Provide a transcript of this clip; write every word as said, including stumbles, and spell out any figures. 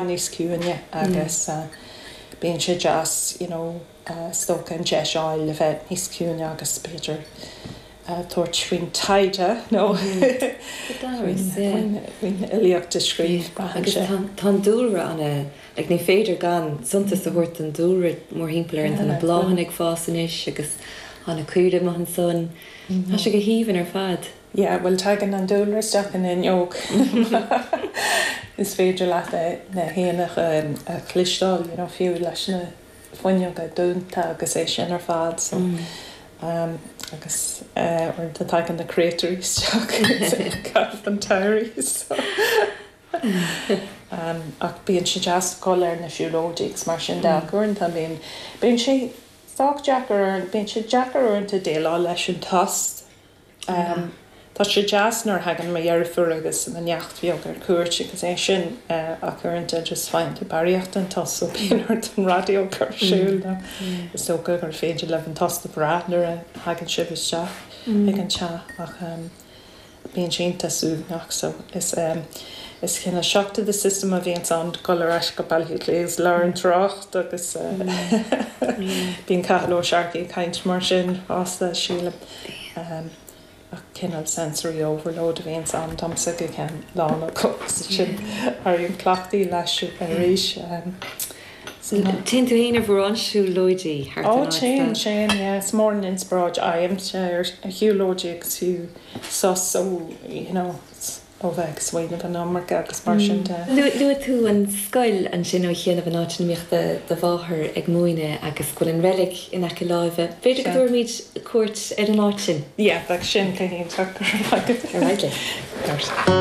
Níos ciúine agus bíonn sé deas you know is dócha an deis a fháil le bheith níos ciúine agus b'fhéidir tabhairt faoin taighde nó faoin fhilíocht a scríobh, braitheann Agus sé. tá an dúlra ana, like ní féidir gan suntas a thabhairt don dúlra mórthimpeall orainn, tá na bláthanna ag fás anois agus tá na caoirigh amuigh ansan. Tá sé go haoibhinn ar fad. Yeah, bhuel tagann an dúlra isteach an fhuinneog. Is féidir leat na héanacha a chloisteáil, you know, fiú leis na fuinneoga dúnta agus é sin ar fad so um, agus uaireanta tagann na créatúirí isteach caitheamh an tsamhraidh so um, ach bíonn sé deas dul ar na siúlóidí agus mar sin de ach uaireanta bíonn bíonn sé sách deacair bíonn sé deacair uaireanta déileáil leis an tost. Um, Tá sé deas nuair a thagann mo dheirfiúr agus mo neacht bheag ar cuairt agus é sin ach uaireanta just faigheann tú barraíocht den tost so bíonn ort an raidió a chur ar siúl nó is dócha gur féidir libh an tost a bhrath nuair a thagann sibh isteach ag an teach ach um, bíonn sé iontach suaimhneach so is um, is cineál shock to the system a bhíonn ann dul ar ais go Baile Átha Cliath agus lár an trácht agus uh, bíonn Cathal Ó Searcaigh ag caint mar sin fosta sílim. Um, ach cineál sensory overload a bhíonn ann domsa go ceann lá nó sin éirím cleachtaithe leis arís. Um, so, Téann tú féin ar mhórán siúlóidí thart Ó an áit téim de? téim yeah, is mór an inspioráid agamsa ar a shiúlóidí agus fiú sos ó you know, ó bheith ag smaoineamh an iomarca agus mar sin de. Luaigh tú an scoil ansin ó chianaibh an áit ina mbíodh do do mháthair ag múineadh agus go bhfuil an reilig in aice láimhe. B'fhéidir go Sea. dtabharfaimid cuairt ar an áit sin. Yeah, bheadh sin go hiontach. Ar aghaidh linn.